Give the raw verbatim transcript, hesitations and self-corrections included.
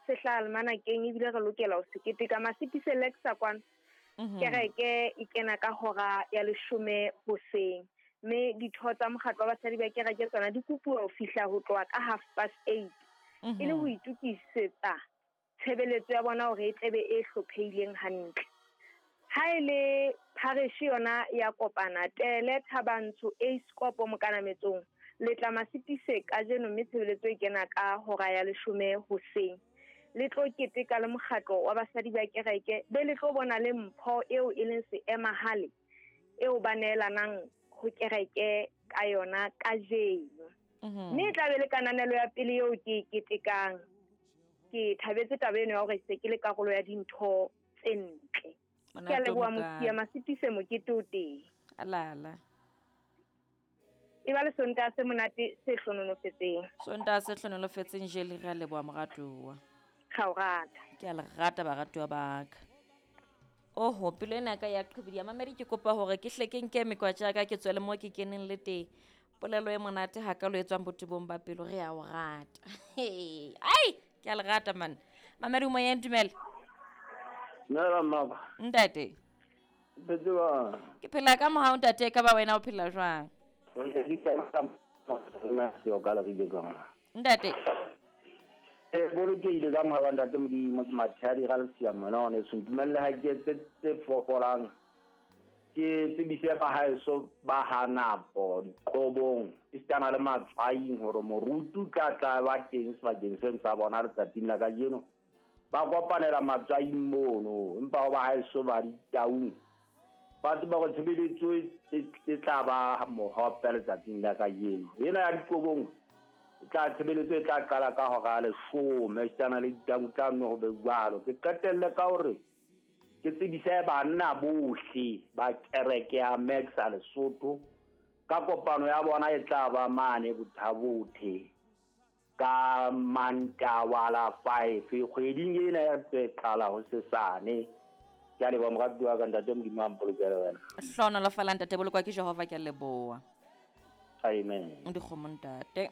Se hlaha almanakeng ebile re lokela ho se keteka. Masipise Lexa kwano. Mhm. Kereke e kena ka hora ya leshome hoseng. Mme ditho tsa mokgatlo wa basadi ba kereke tsona di kopuwa ho fihla ho tloha ka half past eight. E le ho itokisetsa tshebeletso ya bona hore e tlebe e hlophehileng hantle. Ha e le parish yona ya kopana Tele Thabantsho Eiskopo Mokanametsong le tla Masipise kajeno mme tshebeletso e kena ka hora ya leshome hoseng. Le tlo keteka le mokgatlo wa basadi ba kereke be le tlo bona le mpho eo e leng seemahale eo ba neelanang ho kereke ka yona kajeno. Mhm. Mme e tla be le kananelo ya pele eo ke e ketekang. Ke thabetse taba eno ya hore se ke le karolo ya dintho tse ntle. Ke a Monate o leboha mokana. Mosia Masipise mokete o teng. Alala. E ba le Sontaha se monate se hlohonolofetseng. Sontaha se hlohonolofetseng jele re a leboha moratuwa. Ga o rata. Ke a le rata baratuwa ba ka. Oho, pelo ena ya ka ya qhibidiha. Mamedi ke kopa hore ke hle ke nke mekwatja ya ka ke tswele moo ke keneng le teng. Polelo e monate hakalo e tswang botebong ba pelo re a o rata. Ai, ke a le rata man. Mamedi o moyeng, dumela. Dumela mmaba. Ntate. Phetse jwang? Ke phela ka mohau ntate, ka ba wena o phela jwang? Ntate. Eh, bolokehile ka mohau wa ntate Modimo, ke Mathadi ga Lesia mona hone so ntumelle ha ke etse tse fokolang. Ke tsebise ba haeso ba hanapo diqobong esitana le matswaing hore moruti o tla tla ba teng sebakeng seno sa bona letsatsing la kajeno. Ba kopanela matswaing mono, empa ho ba haeso ba ditaung ba tseba hore tshebeletso e, e, e tla ba mohope letsatsing la kajeno. Ena ya diqobong e tla tshebeletso e tla qala ka hora ya leshome esitana le ditaung tla nne ho be jwalo. Ke qetelle ka hore ke tsebise banna bohle ba kereke ya Maxa Lesotho ka kopano ya bona e tla ba mane Bothabothe ka Mantaha la five kgweding ena ya tse qala ho sesane. Ke a leboha moratuwa wa ka, ntate Modimo a mpolokele wena. Hlohonolofala ntate, bolokwa ke Jehova, ke a leboha. Amen. Dikgomo ntate.